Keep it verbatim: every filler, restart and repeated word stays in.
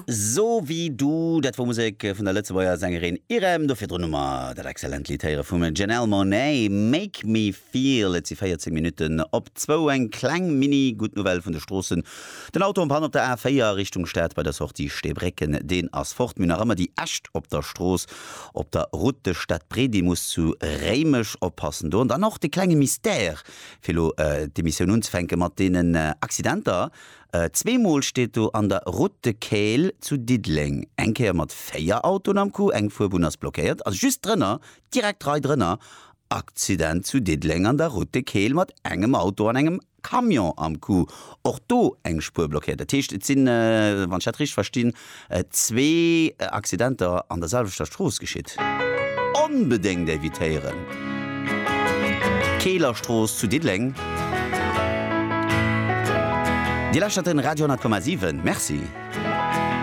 So wie du, dat wor Musek vun der Lëtzebuerger Sängerin Irem. Do virdrun hu mer dat excellent Lidd héiere vum Janelle Monáe, Make Me Feel. Et si véierzéng Minutten op zwou. Eng kleng mini gutt Nouvelle vun de Stroossen. Den Auto en panne op der A véier Richtung Stad bei der Sortie Steebrécken, deen ass fort. Mir hunn nach ëmmer déi Äscht op der Strooss op der Route de Stadbredimus zu Réimech. Oppassen do. An dann och de klenge Mystère, fir elo d'Emissioun unzefänke mat deenen Accidenter. Zweemol steet do an der Route de Kayl zu Diddeleng, eng Kéier mat véier Autoen am Coup, eng Fuerbunn ass blockéiert, a just drënner, direkt d'Rei drënner, Accident zu Diddeleng an der Route de Kayl mat engem Auto an engem Camion am Coup, och do eng Spuer blockéiert. Dat heescht, et sinn, wann ech dat richteg verstinn, zwee Accidenter an der selwechter Strooss geschitt. Onbedéngt evitéieren! D'Keelerstrooss zu Diddeleng. Dir lauschtert den Radio honnert Komma siwen. Merci.